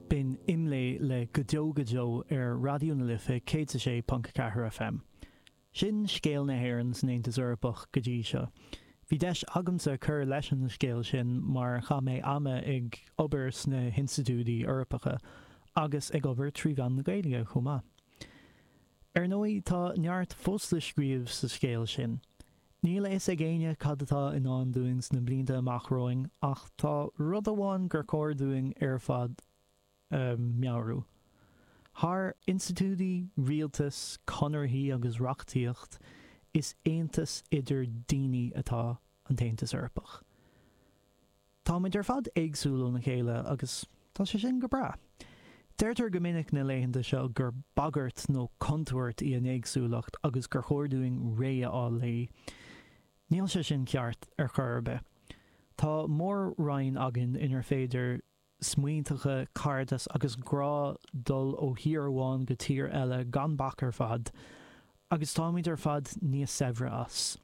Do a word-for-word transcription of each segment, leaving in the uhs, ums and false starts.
B'in Imlé le Go Deo Go Deo ar Raidió na Life céad a sé ponc a ceathair FM. Sin scéal na hÉireann san Aontas Eorpach go dtí seo. Bhí deis agamsa cur leis an scéal sin mar chaith mé ama ag obair sna hinstitiúidí Eorpacha agus ag obair trí mheán na Gaeilge chomh maith. Ar ndóigh tá neart fós le scríobh sa scéal sin. Níl a fhios ag éinne cad atá i ndán dúinn sna blianta amach romhainn ach tá rud amháin gur chóir dúinn ar fad a mheabhrú. Thar institiúidí, rialtas, conarthaí agus reachtaíocht, is aontas idir daoine atá an tAontas Eorpach. Táimid ar fad éagsúil óna chéile agus tá sé sin go breá. Deirtear go minic na laethanta seo gur bagairt nó contúirt í an éagsúlacht agus gur chóir dúinn réidh a fháil léi. Níl sé sin ceart ar chor ar bith. Tá mór-roinn againn inar féidir smaointeacha, cairdeas agus grá dul ó thír amháin go tír eile gan bac ar fad, agus táimid ar fad níos saibhre as.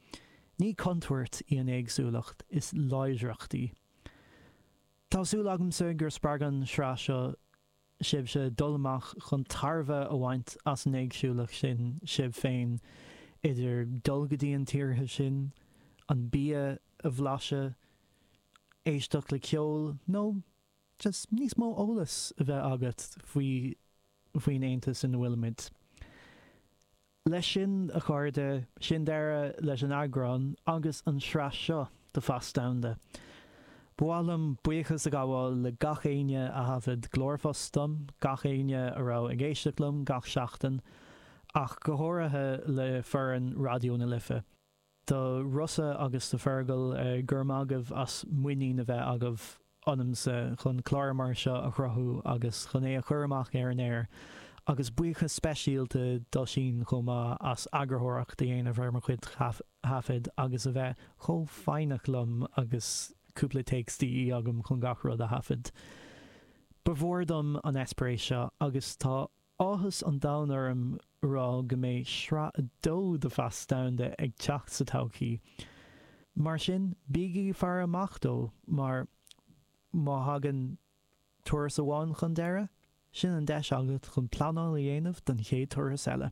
Ní contúirt í an éagsúlacht, is láidreacht í. Tá súil agamsa gur spreag an tsraith seo sibhse dul amach chun tairbhe a bhaint as an éagsúlacht sin sibh féin, idir dul go dtí an tíortha sin, an bia a bhlaiseadh, éisteacht le ceol nó just níos mó eolas a bheith agat faoi faoin Aontas ina bhfuilimid. Leis sin, a chairde, sin deireadh leis an eagrán agus an sraith seo de Phas Domhanda. Ba mhaith liom buíochas a ghabháil le gach éinne a thaifead glórphost dom, gach éinne a raibh ag éisteacht liom gach seachtain, ach go háirithe le foireann Raidió na Life. Do Rossa agus do Fergal, go raibh maith agaibh as muinín a bheith agaibh ionamsa chun clár mar seo a chruthú agus chun é a chur amach ar an aer, agus buíochas speisialta d'Oisín chomh maith as eagarthóireacht a dhéanamh ar mo chuid taifead agus a bheith chomh foighneach liom agus cúpla téacs de dhíth agam chun gach rud a thaifead. Ba mhór dom an eispéireas seo agus tá áthas an domhain orm a rá go mbeidh sraith a dó de Phas Domhanda ag teacht sa todhchaí. Mar sin, bígí ag faire amach dó mar má thagann turas amháin chun deireadh, sin an deis agat chun pleanáil a dhéanamh don chéad turas eile.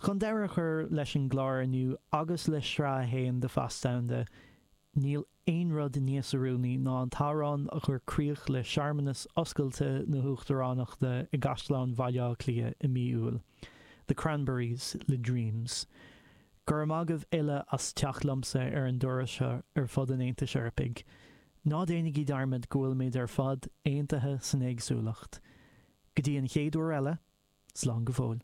Chun deireadh a chur leis an gclár inniu agus le sraith a haon de Phas Domhanda, níl aon rud níos oiriúnaí ná an t-amhrán a chuir críoch le searmanas oscailte na hUachtaránachta i gCaisleán Bhaile Átha Cliath i mí Iúil, The Cranberries le Dreams. Go raibh maith agaibh uile as teacht liomsa ar an dturas seo ar fud an Aontais Eorpaigh. Ná déanaigí dearmad go bhfuilimid ar fad aontaithe san éagsúlacht. Go dtí an chéad uair eile, slán go fóill.